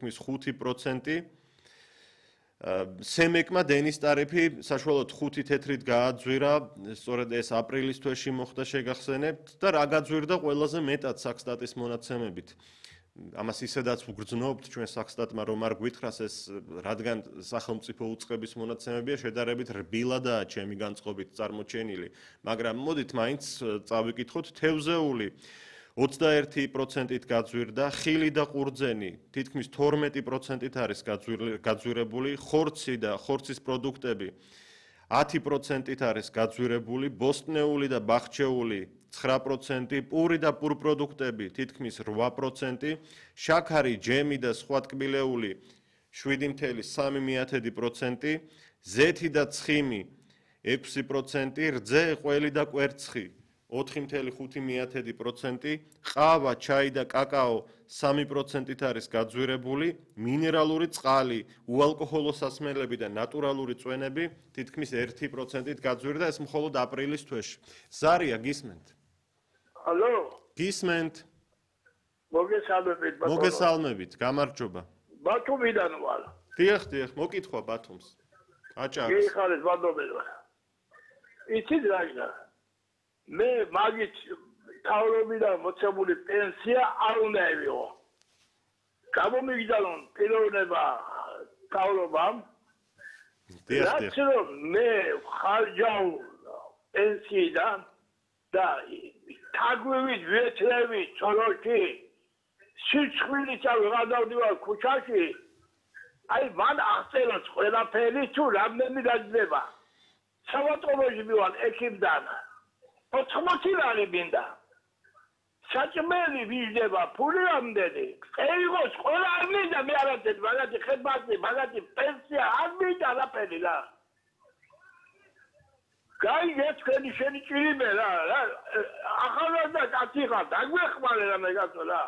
თითქმის 5%. სემეკმა დენის ტარიფი საშუალოდ 5 თეთრით გააძვირა, სწორედ ეს აპრილის თვეში მოხდა შეგახსენებთ და რა გაძვირდა ყველაზე მეტად საქსტატის მონაცემებით. ამას ისედაც უგრძნობთ ჩვენ საქსტატმა რომ არ გვითხრას ეს რადგან სახელმწიფო უწყების მონაცემებია შედარებით რბილადაა ჩემი განწყობით წარმოჩენილი, მაგრამ მოდით მაინც წავიკითხოთ თევზეული 21%-ით გაძვირდა, ხილი და ყურძენი თითქმის 12%-ით არის გაძვირებული, ხორცი და ხორცის პროდუქტები 10%-ით არის გაძვირებული, ბოსტნეული და ბახჩეული 9%, პური და პურპროდუქტები თითქმის 8%, შაქარი, ჯემი და სხვა ტკბილეული 7.3%, ზეთი და ცხიმი 6%, რძე, ყველი და კვერცხი 4.5%, ყავა, ჩაი და კაკაო 3%-ით არის გაძვირებული, მინერალური წყალი, უალკოჰოლო სასმელები და ნატურალური წვენები თითქმის 1%-ით გაძვირდა, ეს მხოლოდ აპრილის თვეში. ზარია, გისმენთ? ალო? გისმენთ? მოგესალმებით, ბატონო. მოგესალმებით, გამარჯობა. ბათუმიდან ვარ. დიახ, მოკითხვა ბათუმს. აჭარს. კი, ხარეს ბატონო. იცით რა იქნა? მე მაგით თავრობიდან მოცემული პენსია არ უნდა ევიღო. გამომიგდა რომ პიროვნება თავრობამ. რაც რომ მე ხარჯავ პენსიიდან და თაგვივით ვიეთლები ჩოროჩი სიცხვილით ავიღადავდივარ ქუჩაში აი მან აღწეროს ყველაფერი თუ რამდენი გაძლება. სავატყობოში მივარ ექიმთან 80 ლარი მინდა. საჭმელი ვიждდება, ფული რამდენი? ეიღოს ყველა არ მინდა მე არაცეთ, მაგათი ხებასი, მაგათი პენსია არ მინდა არაფერი რა. გაიგე თქვენი შენი ჭირიმე რა. ახალგაზრდა კაცი ხარ, დაგვეხმარე რა მეგაცო რა.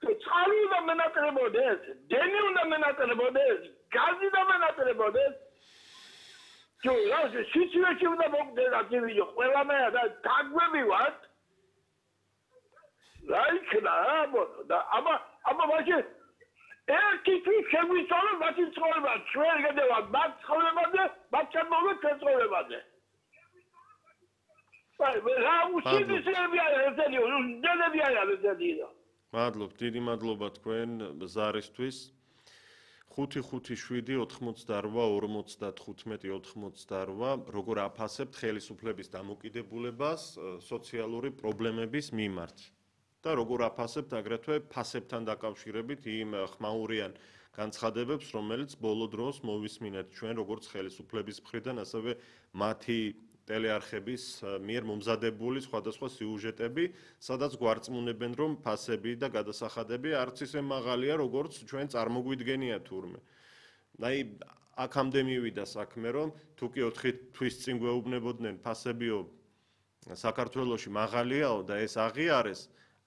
წყალი უნდა მენატრებოდეს, დენი უნდა მენატრებოდეს, გაზი უნდა მენატრებოდეს. ჯო, რა სიცივეში უნდა მოგდენა დივიდო, ყველანაირ და დაგვევივართ. რა იქნა და აბა ვაჟე ერთი თუ შეგვიცვალო მათი ცხოვრება, ჩვენ გადავა მათ ცხოვრებაზე, მათ შემოგეთ ჩვენ ცხოვრებაზე. აი, რა უსიძისეებია ესენი, უდენებია ესენი. მადლობ, დიდი მადლობა თქვენ ზარისთვის. 5-5-7-88-45-98 როგორ აფასებთ ხელისუფლების დამოკიდებულებას სოციალური პრობლემების მიმართ და როგორ აფასებთ აგრეთვე ფასებთან დაკავშირებით იმ ხმაურიან განცხადებებს, რომელიც ბოლო დროს მოვისმინეთ ჩვენ როგორც ხელისუფლების მხრიდან, ასევე მათი ტელეარხების მიერ მომზადებული სხვადასხვა სიუჟეტები, სადაც გვარწმუნებენ, რომ ფასები და გადასახადები არც ისე მაღალია, როგორც ჩვენ წარმოგვიდგენია თურმე. აი, აქამდე მივიდა საქმე, რომ თუ კი 4 თვის წინ გვეუბნებოდნენ ფასებიო საქართველოში მაღალიაო და ეს აღიარეს,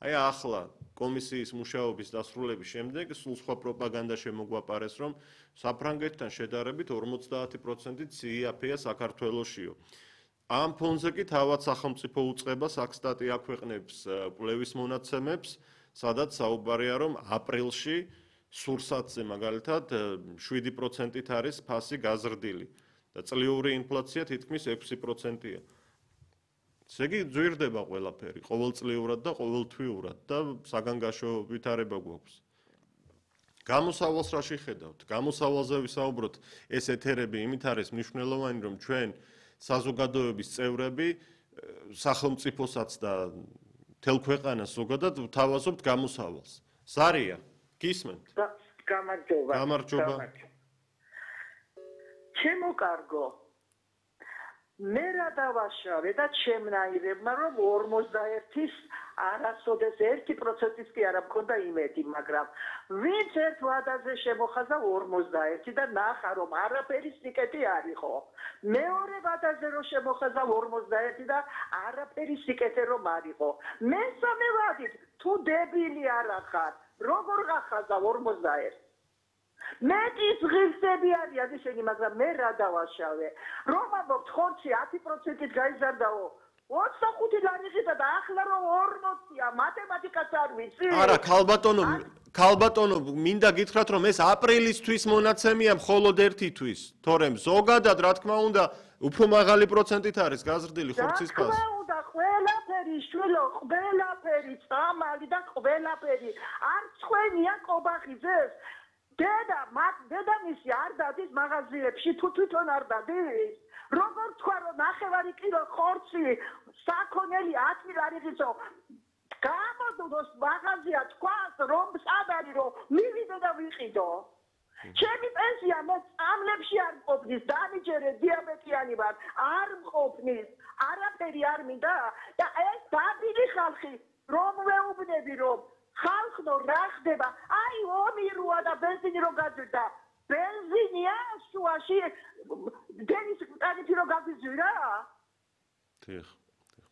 აი ახლა კომისიის მუშაობის დასრულების შემდეგ სულ სხვა პროპაგანდა შემოგვაპარეს, რომ საფრანგეთთან შედარებით 50%-ით CIP-ია საქართველოშიო. ამ ფონზე კი თავად სახელმწიფო უწყება საქსტატი აქვეყნებს კვლევის მონაცემებს, სადაც საუბარია, რომ აპრილში სურსათზე მაგალითად 7%-ით არის ფასი გაზრდილი და წლიური ინფლაცია თითქმის 6%-ია. ესე იგი ძვირდება ყველაფერი, ყოველწლიურად და ყოველთვიურად და საგანგაშო ვითარება გვაქვს. გამოსავალს რა შეხედავთ? გამოსავალზე ვისაუბროთ, ეს ეთერები იმით არის მნიშვნელოვანი, რომ ჩვენ საზოგადოების წევრები სახელმწიფოსაც და მთელ ქვეყანას ზოგადად ვთავაზობთ გამოსავალს. ზარია, გისმენთ? გამარჯობა. ჩემო კარგო. მე რა დავაშავე და ჩემნაირებმა რომ 41-ის არასოდეს 1%-ის კი არ მქონდა იმედი, მაგრამ ვინც ერთ ვადაზე შემოხაზა 41 და ნახა რომ არაფერი სიკეთი არ იყო. მეორე ვადაზე რომ შემოხაზა 41 და არაფერი სიკეთე რომ არ იყო. მესამე ვადით თუ დებილი არ ახარ, როგორ გახაზა 41? მეტის ღირსები არიან ისინი, მაგრამ მე რა დავაშავე. რომ ამბობთ ხორცი 10%-ით გაიზარდაო. 25 ლარი ხიდა და ახლა რომ 40-ია, მათემატიკაც არ ვიცი. არა, ქალბატონო, ქალბატონო, მინდა გითხრათ, რომ ეს აპრილისთვის მონაცემია მხოლოდ ერთი თვის, თორემ ზოგადად, რა თქმა უნდა, უფრო მაღალი პროცენტით არის გაზრდილი ხორცის ფასი. რა თქმა უნდა, ყველაფერი შვილო, ყველაფერი სამალი და ყველაფერი. არც ხვენია კობახიძეს. დედამისი არ დადის მაღაზიებში, თუ თვითონ არ დადის. როგორ თქვა, რომ 9 კილო ხორცი საქონელი 10 ლარისო გამოდოს მაღაზია თქვას, რომ სად არის, რომ მივიდე და ვიყიდო. ჩემი პენსია მე წამლებში არ მყოფნის, დამიჯერე დიაბეტიანი ვარ, არ მყოფნის, არაფერი არ მინდა და ეს დაბილი ხალხი რომ ვეუბნები, რომ ხალხო რა ხდება, აი ომი როა და ბენზინი რო გაძვირდა, ბენზინია შუაში დენის ტარიფი რო გაგვიზვირა? დიახ.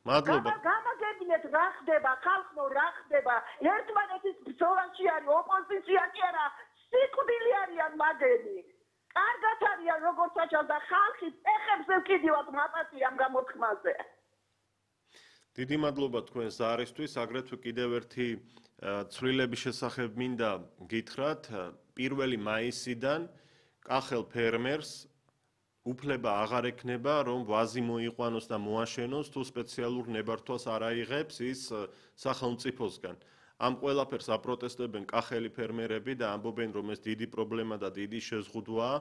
მადლობა. გამაგებინეთ რა ხდება, ხალხო რა ხდება, ერთმანეთის ბრძოლაში არის ოპოზიცია კი არა, სიკვდილი არიან მაგები. კარგად არიან როგორც აჩავს და ხალხი ეხებს ეკიდივად მაპატი ამ გამოთქმაზე. დიდი მადლობა თქვენს ზარისთვის, აგრეთვე კიდევ ერთი ცვლილების შესახებ მინდა გითხრათ, 1 მაისიდან კახელ ფერმერს უფლება აღარ ექნება, რომ ვაზი მოიყვანოს და მოაშენოს, თუ სპეციალურ ნებართვას არ აიღებს ის სახელმწიფოსგან. ამ ყველაფერს აპროტესტებენ კახელი ფერმერები და ამბობენ, რომ ეს დიდი პრობლემა და დიდი შეზღუდვაა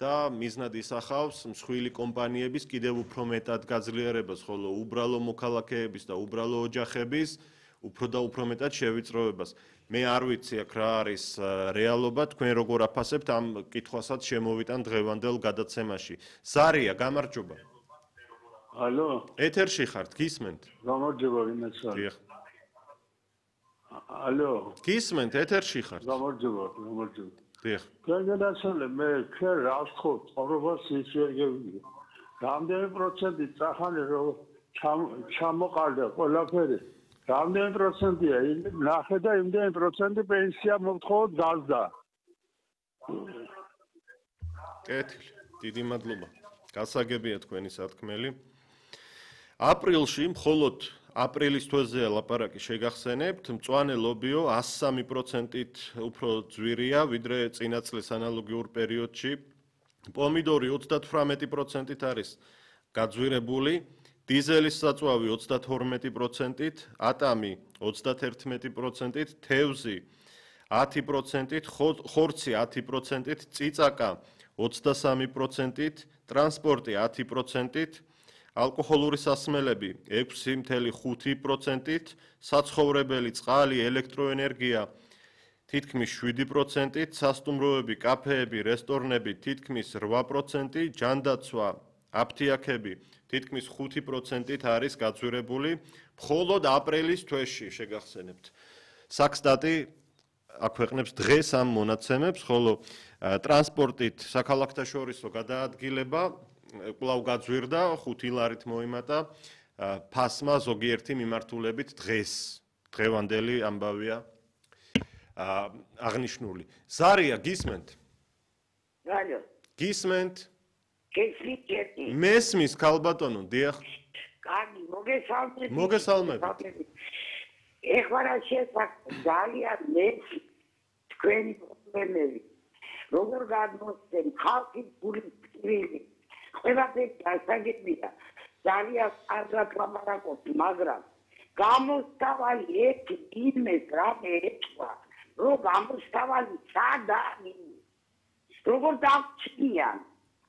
და მიზნად ისახავს მსხვილი კომპანიების კიდევ უფრო მეტად გაძლიერებას, ხოლო უბრალო მოქალაქეების და უბრალო ოჯახების უფრო და უფრო მეტად შევიწროებას. მე არ ვიცი აქ რა არის რეალობა, თქვენ როგორ აფასებთ ამ კითხვასაც შემოვიტან დღევანდელ გადაცემაში. ზარია, გამარჯობა. ალო. ეთერში ხართ, გისმენთ? გამარჯობა, ვინაცა. დიახ. ალო. გისმენთ, ეთერში ხართ? გამარჯობა. დიახ. განსაცდელი მე ჩვენ რა ვთქო, ცხოვრებას ისვერგები. რამდენი პროცენტი წახალი რომ ჩამოყალდა ყველაფერი. რამდენი პროცენტია? ნახე და იმდენი პროცენტი პენსია მოვთხოვოთ გაზდა. კეთილი, დიდი მადლობა. გასაგებია თქვენი სათქმელი. აპრილში მხოლოდ აპრილის თვეზე ლაპარაკი შეგახსენებთ, მწვანე ლობიო 103%-ით უფრო ძვირია, ვიდრე წინა წლის ანალოგიურ პერიოდში. პომიდორი 38%-ით არის გაძვირებული, დიზელის საწვავი 32%-ით, ატამი 31%-ით, თევზი 10%-ით, ხორცი 10%-ით, წიწაკა 23%-ით, ტრანსპორტი 10%-ით, ალკოჰოლური სასმელები 6.5%-ით, საცხოვრებელი წყალი, ელექტროენერგია თითქმის 7%-ით, სასტუმროები, კაფეები, რესტორნები თითქმის 8%, ჯანდაცვა, აფთიაქები თითქმის 5%-ით არის გაძვირებული, მხოლოდ აპრილის თვეში შეგახსენებთ. საქსტატი აქვეყნებს დღეს ამ მონაცემებს, ხოლო ტრანსპორტით საქალაქთაშორისო გადაადგილება კვლავ გაძვირდა, 5 ლარით მოიმატა ფასმა ზოგიერთი მიმართულებით დღეს. დღევანდელი ამბავია აღნიშნული. ზარია, გისმენთ? ალო. გისმენთ? გესმით? მესმის ქალბატონო, დიახ. კარგი, მოგესალმებით. მოგესალმებით. ეხლა რა შეესაბამება ძალიან მეც თქვენი პრობლემები. როგორ გადმოსცემ ხალხის გულის წვრილი. ყველაფერი დასაგებია. ძალიან კარგად ლაპარაკობთ, მაგრამ გამოსავალი ერთი იმეს რამე ეთქვა, რომ გამოსავალი სადარი. როგორ დავჩნიან?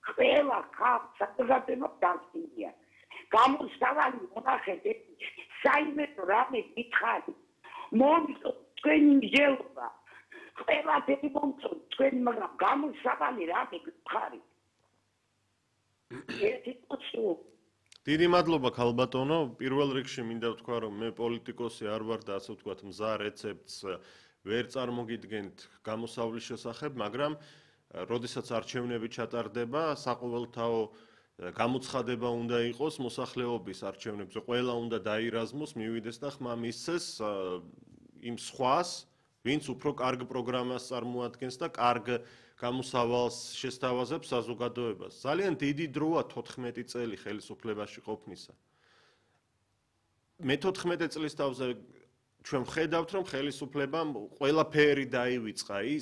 ყველა ხალხს საზოგადოება დავწინია. გამოსავალი მონახეთ, საიმედო რამე გითხარი. მომწო თქვენი მსჯელობა. ყველაფერი მომწო თქვენი, მაგრამ გამოსავალი რამე გითხარი. დიდი მადლობა ქალბატონო. პირველ რიგში მინდა ვთქვა, რომ მე პოლიტიკოსი არ ვარ და ასე ვთქვათ, მზა რეცეპტს ვერ წარმოგიდგენთ გამოსავლის შესახებ, მაგრამ როდესაც არჩევნები ჩატარდება, საყოველთაო გამოცხადება უნდა იყოს მოსახლეობის არჩევნებზე. ყველა უნდა დაირაზმოს, მივიდეს და ხმა მისცეს იმ სხვას, ვინც უფრო კარგ პროგრამას წარმოადგენს და კარგ გამოსავალს შესთავაზებს საზოგადოებას. ძალიან დიდი დროა 14 წელი ხელისუფლებაში ყოფნისა. მე 14 წლის თავზე ჩვენ ვხედავთ, რომ ხელისუფლებამ ყველაფერი დაივიწყა